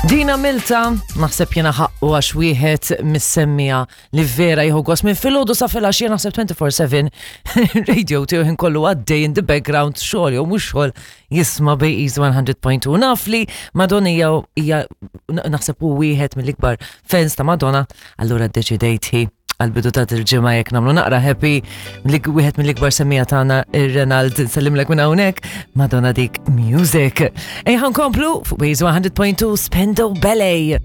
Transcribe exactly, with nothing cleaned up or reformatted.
Dina Milta, naħseb jena ħaqqu għax wieħed mis-semmiegħa li vera jieħu gost minn filgħodu sa filgħaxija, naħseb twenty-four seven radio tiegħu ħin kollu għaddej in the background, xogħol jew mhux xogħol, jisma' B E's one hundred point two. Naf li Madonna hija hija naħseb hu wieħed mill-ikbar fans ta' Madonna, allura ddeċidejt hi għal-bidu ta' il-ġimgħa jekk nagħmlu naqra happy li wieħed mill-ikbar semmiegħa tagħna, ir-Renald, nsellimlek minn hawnhekk, Madonna dik music. Ejja nkomplu fuq B E's one hundred point two, Spandau Ballet.